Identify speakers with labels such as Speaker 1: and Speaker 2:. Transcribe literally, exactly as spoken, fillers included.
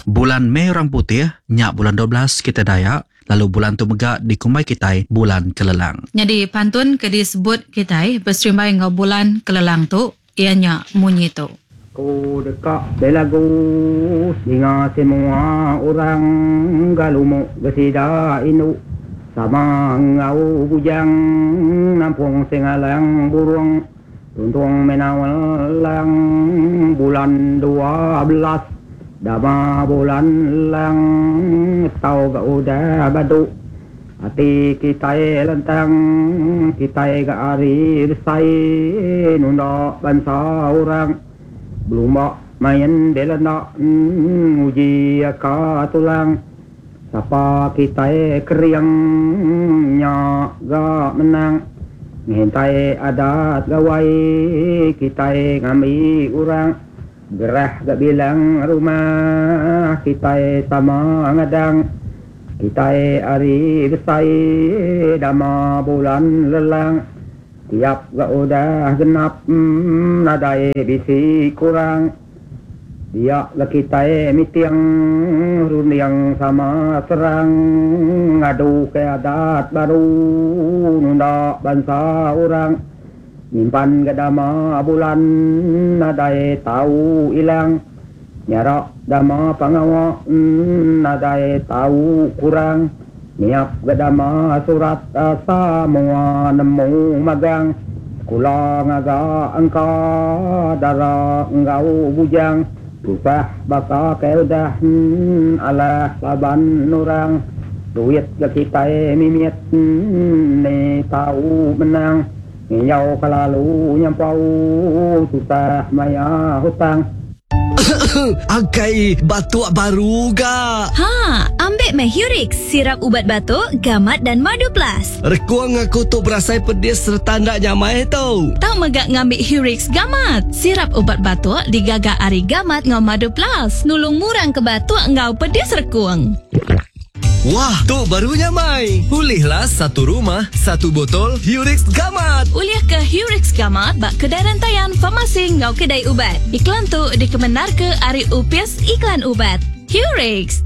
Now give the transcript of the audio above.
Speaker 1: Bulan Mei orang putih, nya bulan dua belas kitai Dayak, lalu bulan tu mega dikumbai kitai bulan kelelang.
Speaker 2: Nyadi pantun ke disebut kitai beserimbai enggau bulan kelelang tu iya nya munyi tu.
Speaker 3: Ku deka belagu ninga semua orang galumuk gesida indu sama enggau bujang nampung sengalang burung tuntung menawalang bulan dua belas dama bulan lang tau ga udah badu ati kitai lentang kitai ga ari besai nunda bansa orang belumba main belanda nguji ka tulang sapa kitai kering nya ga menang ngintai adat gawai kitai ngambi orang gerah ga bilang rumah kitai sama ngadang kitai ari besai dama bulan lelang tiap ga udah genap nadai bisi kurang dia ga kitai miting runding sama terang ngadu ke adat baru nunda bansa orang nyimpan ga dama bulan nadai tau ilang nyarak dama pangawa nadai tau kurang niap ga dama surat semua nemu magang sekula ngaga angka dara enggau bujang susah baka ke udah alah laban orang duit ga kitai mimit ni tau menang nginjau kelalu nyampau susah maya hutang.
Speaker 4: Angkai batuk baru ga.
Speaker 5: Ha, ambil meh Hurix, sirap ubat batuk, gamat dan madu plus.
Speaker 4: Rekuang aku tu berasai pedis serta ndak nyamai tu.
Speaker 6: Tau megak ngambil Hurix gamat. Sirap ubat batuk digaga ari gamat ngau madu plus. Nulung murang ke batuk ngau pedis rekuang.
Speaker 4: Wah, tu baru nyamai. Ulihlah satu rumah, satu botol Hurix Gamat.
Speaker 6: Ulih ke Hurix Gamat bak kedai rantaian farmasi ngau kedai ubat. Iklan tu dikemenar ke ari Upis
Speaker 5: Iklan Ubat.
Speaker 6: Hurix.